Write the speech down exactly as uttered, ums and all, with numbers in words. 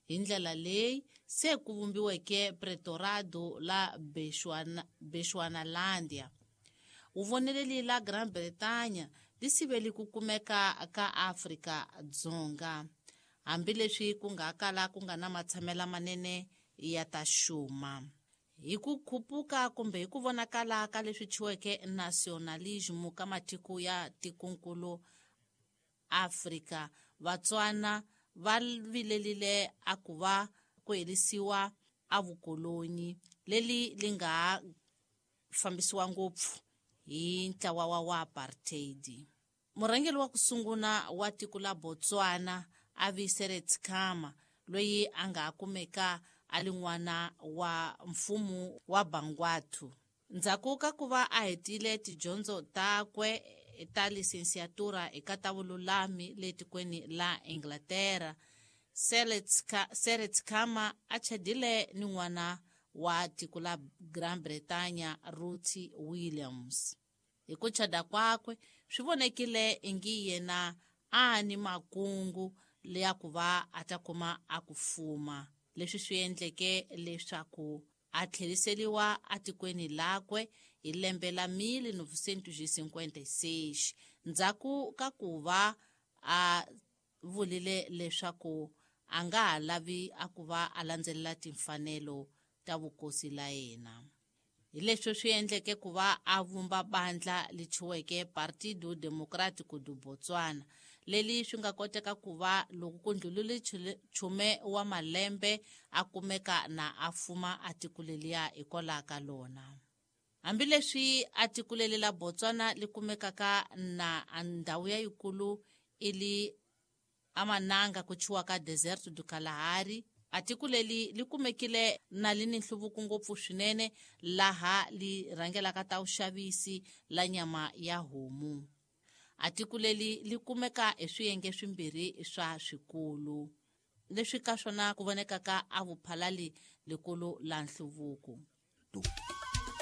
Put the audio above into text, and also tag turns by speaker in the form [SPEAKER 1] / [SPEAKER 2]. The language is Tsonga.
[SPEAKER 1] Hi ndlela leyi se ku vumbiweke Pretorado la Bechuanalandia. Uvoneleli la Gran Bretaña li siveli ku kumeka ka Afrika Dzonga, hambileswi ku nga kala ku nga na matshamela manene ya ta xuma. Hi ku khupuka kumbe hi ku vonakala ka leswi chiweke nationalism ka matiko ya tikonkulu Afrika, Vatswana va vilelile a ku va ku herisiwa a vukoloni leli li nga fambisiwa ngopfu hi ntlawa wa wa apartheid. Murhangeri wa ku sungula wa tiko la Botswana a vi Seretse Khama, loyi a nga kumeka a li n'wana wa mfumo wa Bangwathu. Ndzhaku ka ku va a hetile tidyondzo takwe ta lisensiatura eka ta vululami le tikweni la Inglaterra, Seretse Khama a chadile ni n'wana wa tiko la Gran Bretaña Ruth Williams. Hi ku chada kwakwe swi vonekile ingi yena a ni makungu leya ku va a ta kuma a ku fuma, leswi swi endleke leswaku a tlheriseriwa atikweni lakwe hi lembe la mil novecentos cinquenta e seis, ndzhaku ka ku va a vulile leswaku a nga ha lavi a ku va a landzelela timfanelo ta vukosi la yena. Hi leswi swi endleke ku va a vumba bandla li chiweke Partido Democrático do Botswana, leli swi nga koteka ku va loko ku ndlulile chume wa malembe a kumeka na a fuma a tiko leliya hikwalaho ka lona. Hambileswi a tiko leli la Botswana li kumekaka na ndhawu ya yikulu ili amananga ku chiwa ka Deserto do Kalahari, a tiko leli li kumekile na li ni nhluvuko ngopfu swinene laha li rhangelaka ta vuxavisi la nyama ya homu. A tiko leli li kumeka hi swiyenge swimbirhi swa swikulu, leswi ka swona ku vonekaka a vuphalali likulu la nhluvuko.